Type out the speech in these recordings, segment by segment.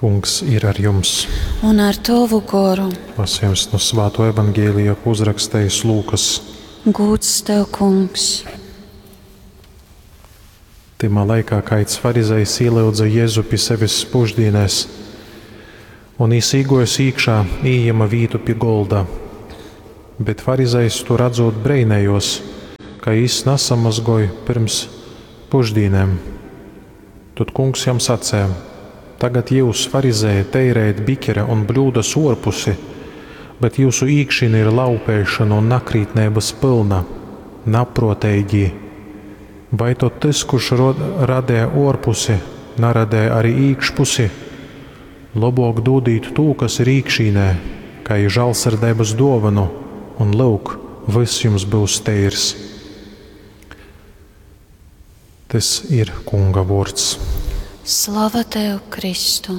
Kungs ir ar jums. Un ar tovu goru. Lasījums no Svāto evaņģēlija, ko uzrakstījis Lūkas. Gūds tev, kungs. Tymā laikā kaids farizejs ielyudza Jēzu pi sevis pušdienēs, un jis īgojis īkšā, ījima vītu pi golda. Bet farizejs to redzot breinējos, ka jis nasamazgoj pirms pušdienēm. Tad kungs jam sacēja: Tagad jūs, farizēji, teirējat bikere un bļūdas orpusi, bet jūsu īkšķine ir laupēšana un nakrītnības pilna, naprotēģi. Vai to tas, kurš radēja orpusi, naradēja arī īkšpusi? Lobok dūdīt tū, kas ir īkšīnē, kā i žālsirdības dovanu, un lūk, viss jums būs teirs. Tas ir Kunga vārds. Slava tev, Kristu!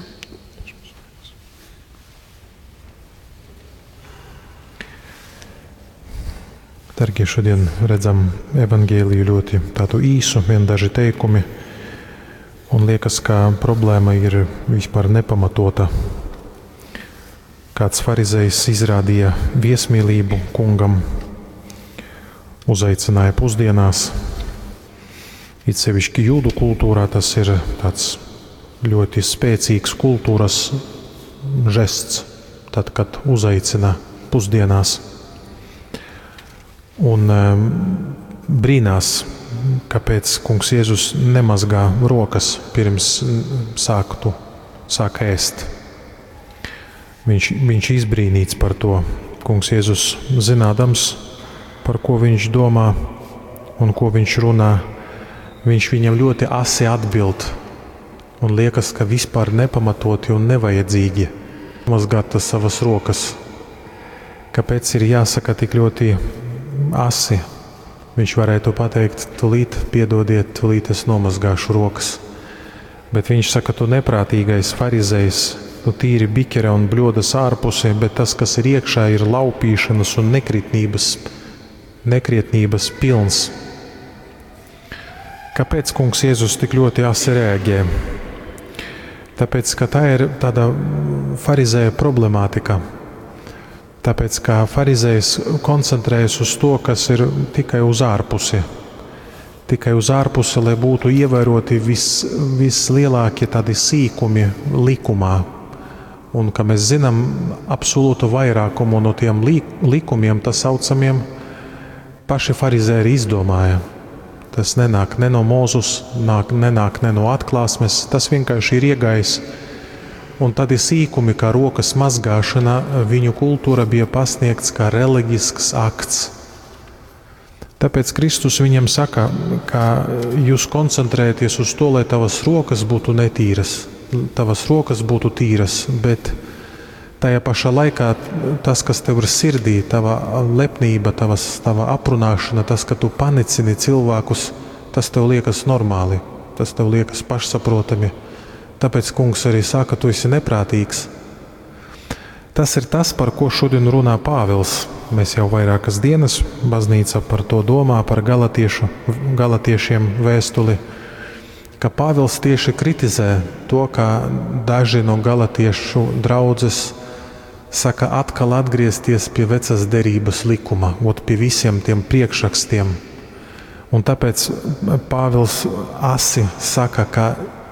Dargie, šodien redzam evaņģēliju ļoti tādu īsu, vien daži teikumi, un liekas, ka problēma ir vispār nepamatota. Kāds farizejs izrādīja viesmīlību kungam, uzaicināja pusdienās. It sevišķi jūdu kultūrā tas ir tāds ļoti spēcīgs kultūras žests, tad, kad uzaicina pusdienās. Un brīnās, kāpēc kungs Jēzus nemazgā rokas pirms sāk ēst. Viņš izbrīnīts par to. Kungs Jēzus zinādams, par ko viņš domā un ko viņš runā, viņš viņam ļoti asi atbild un liekas, ka vispār nepamatoti un nevajadzīgi mazgāt tas savas rokas. Kāpēc ir jāsaka tik ļoti asi? Viņš varētu pateikt, tūlīt piedodiet, tūlīt es nomazgāšu rokas. Bet viņš saka, tu neprātīgais farizejs, tu tīri bikere un bļodas ārpusē, bet tas, kas ir iekšā, ir laupīšanas un nekrietnības pilns. Kāpēc kungs Jēzus tik ļoti asi reaģē? Tāpēc, ka tā ir tāda farizēja problemātika. Tāpēc, ka farizējs koncentrējas uz to, kas ir tikai uz ārpusi. Tikai uz ārpusi, lai būtu ievēroti vislielākie tādi sīkumi likumā. Un, kā mēs zinām, absolūtu vairākumu no tiem likumiem, tā saucamiem, paši farizēji arī izdomāja. Tas nenāk ne no Mūzus, nenāk ne no atklāsmes, tas vienkārši ir iegājis. Un tādi sīkumi, kā rokas mazgāšana, viņu kultūra bija pasniegts kā reliģisks akts. Tāpēc Kristus viņam saka, ka jūs koncentrēties uz to, lai tavas rokas būtu netīras, tavas rokas būtu tīras, bet tajā pašā laikā tas, kas tev ir sirdī, tava lepnība, tava aprunāšana, tas, ka tu panicini cilvēkus, tas tev liekas normāli, tas tev liekas pašsaprotami. Tāpēc kungs arī saka, tu esi neprātīgs. Tas ir tas, par ko šodien runā Pāvils. Mēs jau vairākas dienas baznīca par to domā, par galatiešiem vēstuli, ka Pāvils tieši kritizē to, ka daži no galatiešu draudzes saka atkal atgriezties pie vecas derības likuma, ot pie visiem tiem priekšrakstiem. Un tāpēc Pāvils asi saka, ka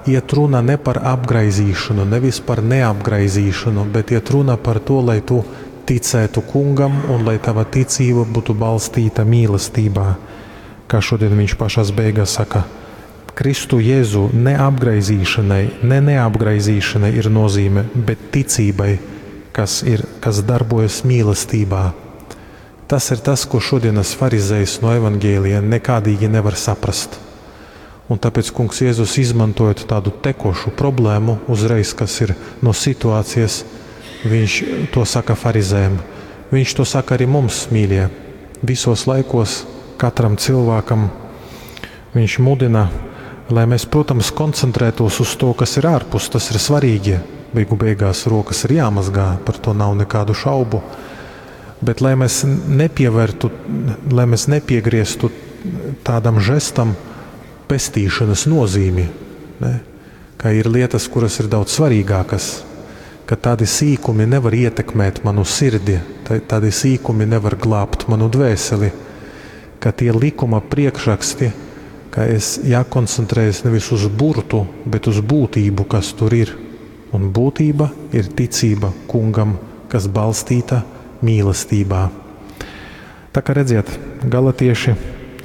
iet runa ne par apgraizīšanu, nevis par neapgraizīšanu, bet iet runa par to, lai tu ticētu kungam un lai tava ticība būtu balstīta mīlestībā. Kā šodien viņš pašās beigās saka, Kristu Jēzu ne apgraizīšanai, ne neapgraizīšanai ir nozīme, bet ticībai, kas darbojas mīlestībā. Tas ir tas, ko šodienas farizejs no evaņģēlija nekādīgi nevar saprast. Un tāpēc kungs Jēzus, izmantojot tādu tekošu problēmu, uzreiz, kas ir no situācijas, viņš to saka farizējiem. Viņš to saka arī mums, mīļie. Visos laikos katram cilvēkam viņš mudina, lai mēs, protams, koncentrētos uz to, kas ir ārpus, tas ir svarīgi. Beigu beigās rokas ir jāmazgā, par to nav nekādu šaubu. Bet lai mēs nepievērtu, lai mēs nepiegrieztu tādam žestam pestīšanas nozīmi, ne? Ka ir lietas, kuras ir daudz svarīgākas, ka tādi sīkumi nevar ietekmēt manu sirdi, tādi sīkumi nevar glābt manu dvēseli, ka tie likuma priekšraksti, ka es jākoncentrējas nevis uz burtu, bet uz būtību, kas tur ir. Un būtība ir ticība kungam, kas balstīta mīlestībā. Tā kā redziet, galatieši